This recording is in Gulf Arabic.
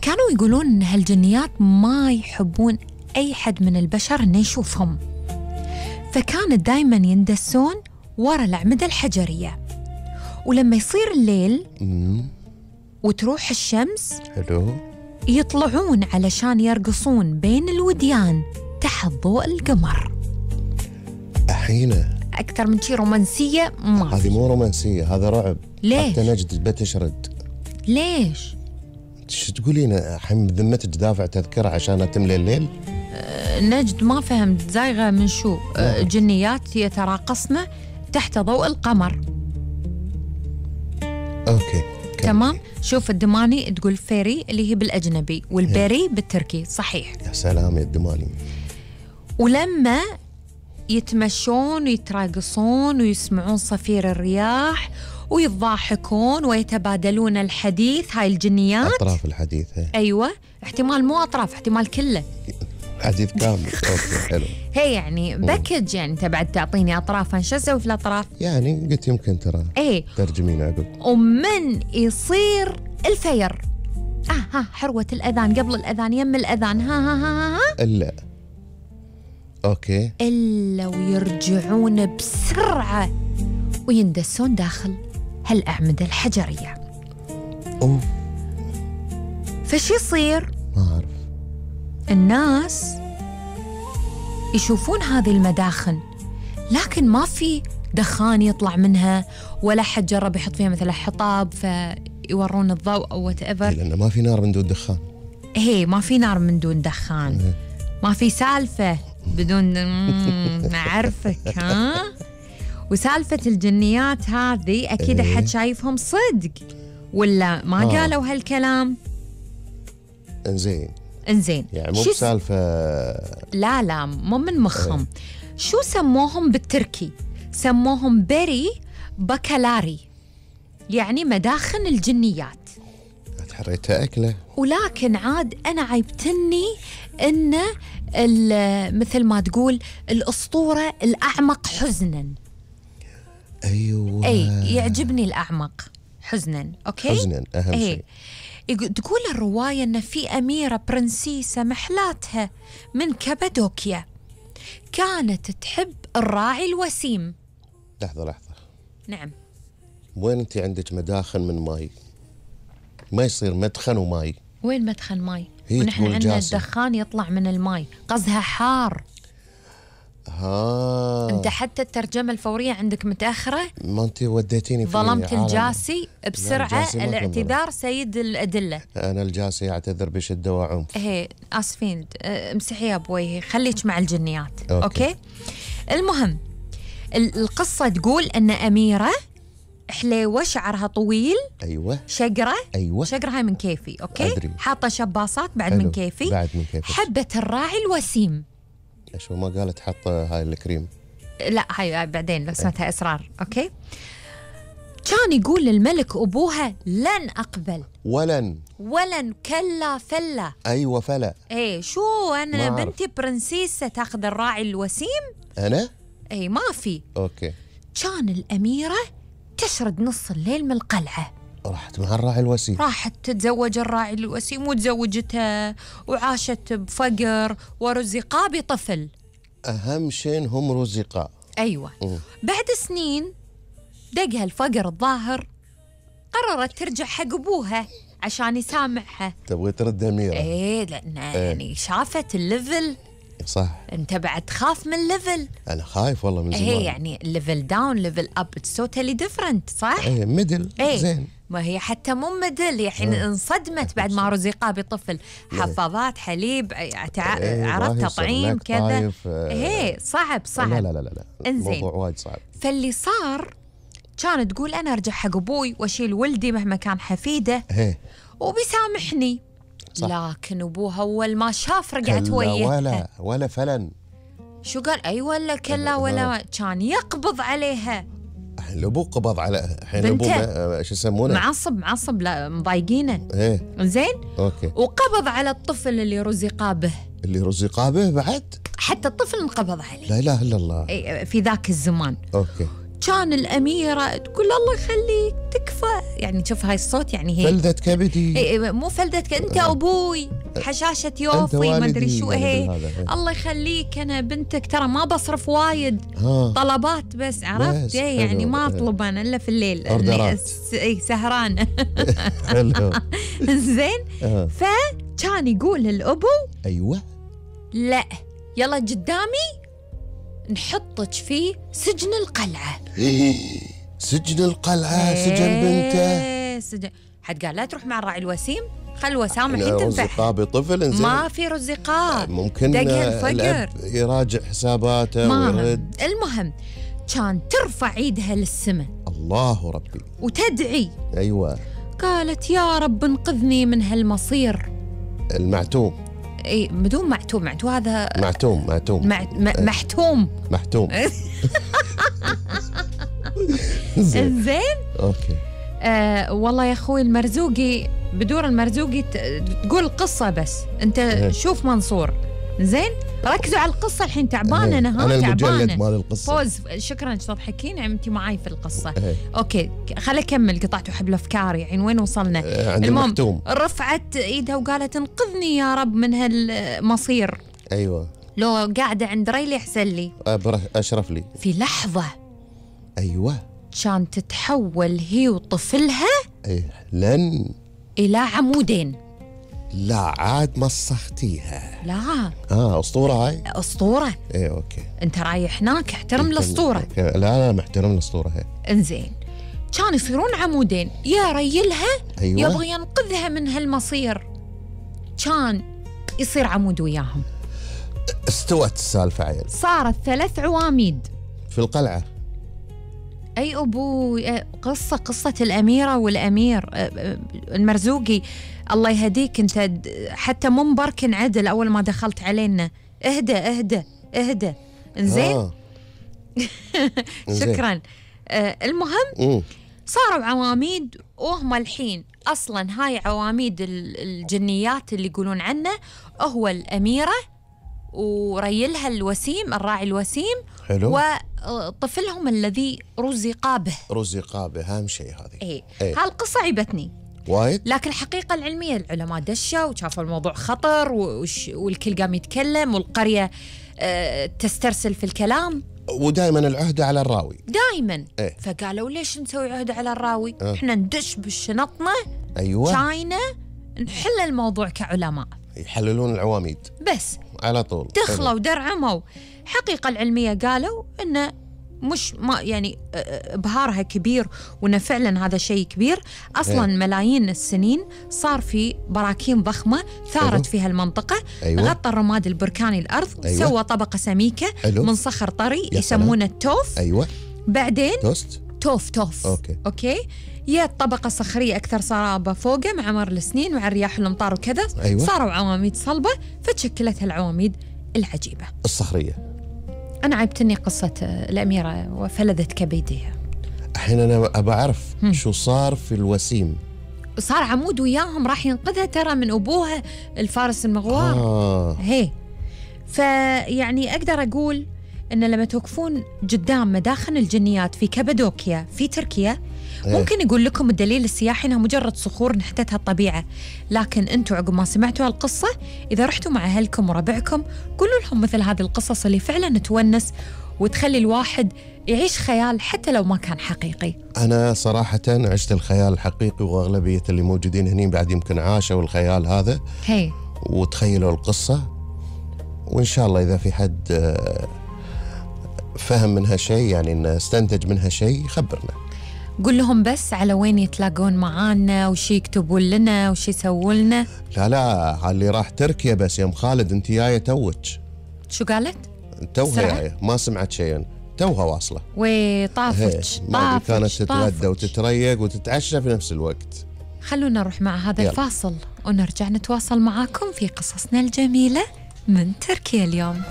كانوا يقولون إن هالجنيات ما يحبون أي حد من البشر إنه يشوفهم، فكانت دايماً يندسون ورا الأعمدة الحجرية، ولما يصير الليل وتروح الشمس حلو يطلعون علشان يرقصون بين الوديان تحت ضوء القمر. أحينه أكثر من شي رومانسية ما هذه مو رومانسية، هذا رعب. ليش؟ حتى نجد بتشرد. ليش؟ شو تقولين الحين بذمتك دافع تذكرة عشان تملي الليل؟ نجد ما فهمت، زايغة من شو؟ جنيات يتراقصن تحت ضوء القمر. أوكي تمام. شوف الدماني تقول فيري اللي هي بالأجنبي، والبيري بالتركي. صحيح. يا سلام يا الدماني. ولما يتمشون ويتراقصون ويسمعون صفير الرياح ويضحكون ويتبادلون الحديث، هاي الجنيات أطراف الحديث. أيوة، احتمال مو أطراف، احتمال كله حديث كامل. أوكي حلو. هي يعني باكج، يعني أنت بعد تعطيني أطراف، شو أسوي في الأطراف؟ يعني قلت يمكن ترى إيه ترجمين عقب. ومن يصير الفير ها حروة الأذان قبل الأذان يم الأذان ها إلا أوكي إلا ويرجعون بسرعة ويندسون داخل هالأعمدة الحجرية. أوف. فش يصير؟ ما أعرف. الناس يشوفون هذه المداخن لكن ما في دخان يطلع منها، ولا حد جرب يحط فيها مثلا حطاب فيورون الضوء أو whatever. لأنه ما في نار من دون دخان. هي ما في نار من دون دخان. ما في سالفة بدون نعرفك ها. وسالفة الجنيات هذه أكيد أحد شايفهم صدق ولا ما قالوا هالكلام؟ إنزين يعني مو شو بسالفة. لا مو من مخهم. شو سموهم بالتركي؟ سموهم بري بكالاري، يعني مداخن الجنيات. حريتها أكله. ولكن عاد أنا عيبتني إن مثل ما تقول الأسطورة الأعمق حزناً. أيوة. أي يعجبني الأعمق حزناً. أوكي. حزناً أهم شيء. تقول الرواية إن في أميرة برنسيسة محلاتها من كابادوكيا كانت تحب الراعي الوسيم. لحظة. نعم. وين أنت عندك مداخن من ماي؟ ما يصير مدخن وماي. وين مدخن ماي؟ ونحن عندنا الدخان يطلع من الماي، قصدها حار. أنت حتى الترجمة الفورية عندك متأخرة. ما أنت وديتيني في ظلمت الجاسي بسرعة. الاعتذار سيد الأدلة. أنا الجاسي أعتذر بشدة وعنف. آسفين. امسحيها بوجهي، خليك مع الجنيات. أوكي. المهم القصة تقول أن أميرة حليوة شعرها طويل. أيوة. شقرة. أيوة. شقرة هاي من كيفي. أوكي. أدري. حاطة شباصات بعد من كيفي. بعد من كيفي. حبت الراعي الوسيم. شو ما قالت حط هاي الكريم؟ لا هاي بعدين لو سمعتها أسرار. أوكي. كان يقول للملك أبوها لن أقبل. ولن كلا فلا. أيوة فلا. شو أنا بنتي برنسيسة تاخذ الراعي الوسيم؟ أنا؟ ما في. أوكي. كان الأميرة تشرد نص الليل من القلعة، راحت مع الراعي الوسيم، راحت تتزوج الراعي الوسيم وتزوجتها وعاشت بفقر ورزقا بطفل. أهم شيء هم رزقا. أيوة. بعد سنين دقها الفقر الظاهر، قررت ترجع حق أبوها عشان يسامحها. تبغي ترد أميرة؟ لأن يعني شافت الليفل. صح. أنت بعد تخاف من الليفل. أنا خايف والله من زمان. يعني الليفل داون ليفل أب توتالي ديفرنت. صح. ميدل. زين. ما هي حتى مو ميدل، يعني انصدمت بعد ما رزقها بطفل. حفاضات حليب عرفت تطعيم كذا. صعب. لا الموضوع وايد صعب. فاللي صار كانت تقول أنا أرجع حق أبوي وأشيل ولدي مهما كان حفيده وبيسامحني. صح. لكن أبوها أول ما شاف رجعت وياها. ولا فلن. شو قال؟ ولا كلا ولا كان يقبض عليها. الأبو قبض على الحين الأبو شو يسمونه؟ معصب لا مضايقينه. زين. أوكي. وقبض على الطفل اللي رزقا به. بعد؟ حتى الطفل انقبض عليه. لا إله إلا الله. في ذاك الزمان. أوكي. كان الأميرة تقول الله يخليك تكفى، يعني شوف هاي الصوت يعني هي فلذة كبدي. مو فلذة أنت أبوي، حشاشة يوفي ما أدري شو هي. الله يخليك أنا بنتك ترى ما بصرف وايد، طلبات بس، عرفت يعني ما أطلب أنا إلا في الليل إني سهرانة. حلو. زين. فكان يقول للأبو أيوة لا يلا قدامي نحطك في سجن القلعة. سجن القلعة. سجن بنته. سجن. حد قال لا تروح مع الراعي الوسيم، خل وسام الحين تنفع. رزقاء بطفل انزين. ما في رزقاء، ممكن الأب يراجع حساباته ويرد. المهم كان ترفع ايدها للسماء الله ربي وتدعي. أيوة. قالت يا رب انقذني من هالمصير المعتوم. اي بدون معتوم هذا معتوم محتوم. زين. اوكي. والله يا اخوي المرزوقي بدور المرزوقي تقول القصة بس انت شوف منصور. زين ركزوا على القصة الحين تعبانة أنا المجلد مال القصة. فوز شكرا تضحكين يعني أنت معاي في القصة. أوكي خلي أكمل قطعت حبل أفكاري يعني وين وصلنا. المهم رفعت إيدها وقالت انقذني يا رب من هالمصير. أيوة. لو قاعدة عند ريلي أحسن لي أشرف لي. في لحظة أيوة كان تتحول هي وطفلها لن إلى عمودين. لا عاد مسختيها. لا أسطورة هاي. أسطورة. إيه أوكي. أنت رايح هناك احترم الأسطورة. لا محترم الأسطورة هاي. إنزين كان يصيرون عمودين يا ريلها. أيوة. يبغى ينقذها من هالمصير كان يصير عمود وياهم. استوت السالفة عيل. صارت 3 عواميد في القلعة. أي أبو قصة الأميرة والأمير المرزوقي الله يهديك أنت حتى مو مبركن عدل أول ما دخلت علينا. اهدى. إنزين. شكرا. المهم صاروا عواميد وهم الحين أصلا هاي عواميد الجنيات اللي يقولون عنه هو الأميرة وريلها الوسيم الراعي الوسيم. حلو. وطفلهم الذي رزق به أهم شيء هذه. إيه. هالقصة عيبتني وايد. لكن الحقيقة العلمية العلماء دشوا وشافوا الموضوع خطر والكل قام يتكلم والقرية تسترسل في الكلام. ودائما العهدة على الراوي دائما. فقالوا ليش نسوي عهدة على الراوي؟ احنا ندش بشنطنا. أيوة. شاينا نحل الموضوع كعلماء يحللون العواميد بس على طول. دخلوا ودرعموا. حقيقة العلمية قالوا إنه مش ما يعني إبهارها كبير وإنه فعلا هذا شيء كبير أصلا. ملايين السنين صار في براكين ضخمة ثارت فيها المنطقة. غطى الرماد البركاني الأرض. سوى طبقة سميكة من صخر طري يسمونه التوف. بعدين توف. أوكي. هي طبقة صخرية أكثر صلابة فوقه مع مر السنين ومع الرياح والأمطار وكذا. صاروا عواميد صلبة فتشكلت هالعواميد العجيبة الصخرية. أنا عيبتني قصة الأميرة وفلذت كبدها. الحين أنا أبى أعرف شو صار في الوسيم. صار عمود وياهم راح ينقذها ترى من أبوها الفارس المغوار. هي فيعني أقدر أقول إن لما توقفون قدام مداخن الجنيات في كابادوكيا في تركيا ممكن يقول لكم الدليل السياحي إنها مجرد صخور نحتتها الطبيعة، لكن أنتوا عقب ما سمعتوا هالقصة إذا رحتوا مع أهلكم وربعكم قولوا لهم مثل هذه القصص اللي فعلا تونس وتخلي الواحد يعيش خيال حتى لو ما كان حقيقي. أنا صراحة عشت الخيال الحقيقي وأغلبية اللي موجودين هني بعد يمكن عاشوا الخيال هذا وتخيلوا القصة. وإن شاء الله إذا في حد فهم منها شيء يعني إنه استنتج منها شيء يخبرنا. قول لهم بس على وين يتلاقون معانا وش يكتبون لنا وش يسوون لنا. لا اللي راح تركيا بس يا ام خالد انت جايه توك. شو قالت؟ توها جايه ما سمعت شيء توها واصله. طافت كانت تتغدى وتتريق وتتعشى في نفس الوقت. خلونا نروح مع هذا الفاصل ونرجع نتواصل معاكم في قصصنا الجميلة من تركيا اليوم.